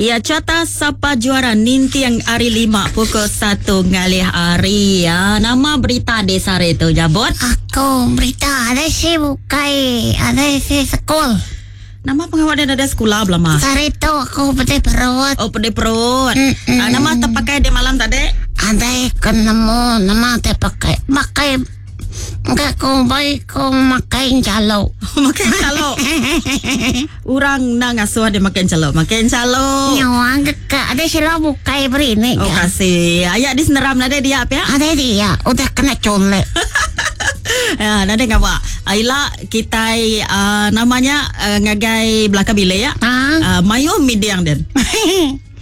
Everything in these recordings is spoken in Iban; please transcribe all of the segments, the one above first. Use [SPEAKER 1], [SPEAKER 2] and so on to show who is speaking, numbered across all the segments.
[SPEAKER 1] Ya carta sapa juara ninting hari 5 pukul 1 ngalih hari. Ya, nama berita di sehari tu Jabot?
[SPEAKER 2] Aku berita ada si bukai, ada si sekul.
[SPEAKER 1] Nama pengawal dia ada sekolah belama.
[SPEAKER 2] Sehari tu aku pedih perut.
[SPEAKER 1] Oh, pedih perut.
[SPEAKER 2] Mm-mm.
[SPEAKER 1] Ah, nama terpakai di malam tadi?
[SPEAKER 2] Ada ketemu nama terpakai. Makai Enggak ku baik ku makai jaluk.
[SPEAKER 1] Makan calok. Orang nak ngasuh dia makan calok. Makan calok.
[SPEAKER 2] Nyawa ke ada sila bukai beri ni.
[SPEAKER 1] Oh, kasih. Ayat di seneram nada dia apa ya?
[SPEAKER 2] Ada dia udah kena colek.
[SPEAKER 1] Ya, nada ngawak. Aila kita uh, namanya uh, ngagai belakang bilik ya.
[SPEAKER 2] Ha?
[SPEAKER 1] Uh, mayu midiang den.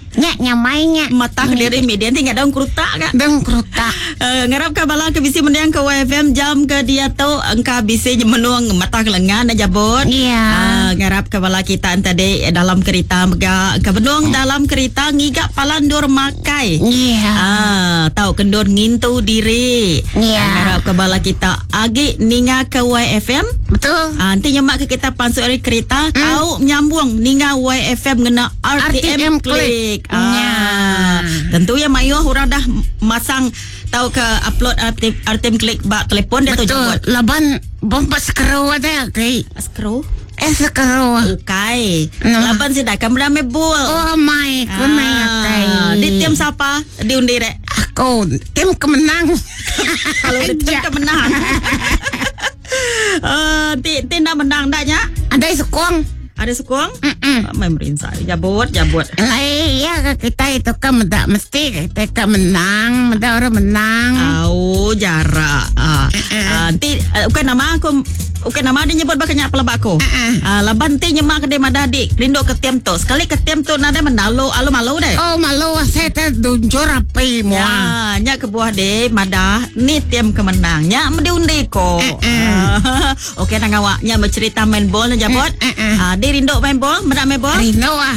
[SPEAKER 2] Nya nyamai nya.
[SPEAKER 1] Mata diri midian tinggal daun kerutak kak.
[SPEAKER 2] Deng kerutak.
[SPEAKER 1] Ngarap ka bala ke bisi mendiang ke YFM jam ke dia tu engka bisi menung mata kelengan dah jabut.
[SPEAKER 2] Ya.
[SPEAKER 1] Ngarap ka bala kita tadi dalam kereta mega engka benung dalam kereta ngiga palan dur makai.
[SPEAKER 2] Ya.
[SPEAKER 1] Ah, tau kendur ngintu diri.
[SPEAKER 2] Ya.
[SPEAKER 1] Ngarap ka bala kita agi ninga ke YFM.
[SPEAKER 2] Betul.
[SPEAKER 1] Ah, nanti nyemak ke kita pansuk dari kereta tau nyambung ninga YFM ngena RTM,
[SPEAKER 2] RTM
[SPEAKER 1] Click.
[SPEAKER 2] Click.
[SPEAKER 1] Ah,
[SPEAKER 2] Ya.
[SPEAKER 1] Tentu ya mayuh orang dah masang tau ke upload RTM, RTM Click bak telefon dia tu
[SPEAKER 2] Betul.
[SPEAKER 1] jemput.
[SPEAKER 2] Laban bomba sekeru ada ke?
[SPEAKER 1] Skru.
[SPEAKER 2] Eh sekeru.
[SPEAKER 1] Ukai.
[SPEAKER 2] Nama?
[SPEAKER 1] Laban sih dah kan berame bul.
[SPEAKER 2] Oh my, ku
[SPEAKER 1] Ah,
[SPEAKER 2] naik
[SPEAKER 1] di tim siapa? Diundi rek.
[SPEAKER 2] Aku tim kemenang.
[SPEAKER 1] Kalau di tim kemenang. Eh, ti ti nak menang dak nya?
[SPEAKER 2] Ada sukong.
[SPEAKER 1] Ada sukong?
[SPEAKER 2] Mm-mm.
[SPEAKER 1] Main merinsa. Jabut, jabut.
[SPEAKER 2] Lai ya kita itu kan meda mesti kita kan menang, meda orang menang.
[SPEAKER 1] Au jarak. Ah, ah, nanti bukan nama aku bukan nama dia nyebut bakanya pelabak aku. Ah, laban ti nyemak ke dia madah dik rindu ke tim tu. Sekali ke tim tu nadai menalu alu malu deh.
[SPEAKER 2] Oh malu saya terduncur api mua.
[SPEAKER 1] Ya, nya ke buah deh madah ni tim kemenang. Nya mesti undi ko. Ah, Okey nang awak nya bercerita main bol na jabot. Ah, dia rindu main bol, menak main bol.
[SPEAKER 2] Rindu ah.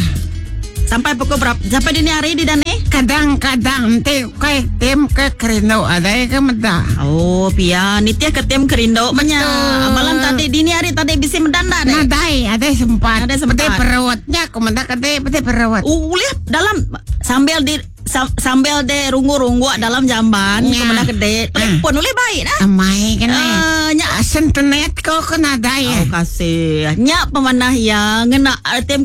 [SPEAKER 1] Sampai pukul berapa? Sampai dini hari di dani?
[SPEAKER 2] Kadang-kadang nanti kai tim ke kerindu ada ke meda.
[SPEAKER 1] Oh, pia nitya ke tim kerindu menya. Malam tadi dini hari tadi bisi mendanda deh.
[SPEAKER 2] Nadai ada sempat.
[SPEAKER 1] Nadai sempat.
[SPEAKER 2] Peti perutnya aku meda kete peti perut.
[SPEAKER 1] Ulih dalam sambil di sambil de runggu-runggu dalam jamban
[SPEAKER 2] Ya.
[SPEAKER 1] kemenang gede telefon ulih baik dah.
[SPEAKER 2] Amai kena.
[SPEAKER 1] Eh, nya
[SPEAKER 2] Asen tenet ko ko nadai.
[SPEAKER 1] Oh, kasih. Nya pemanah ya ngena tim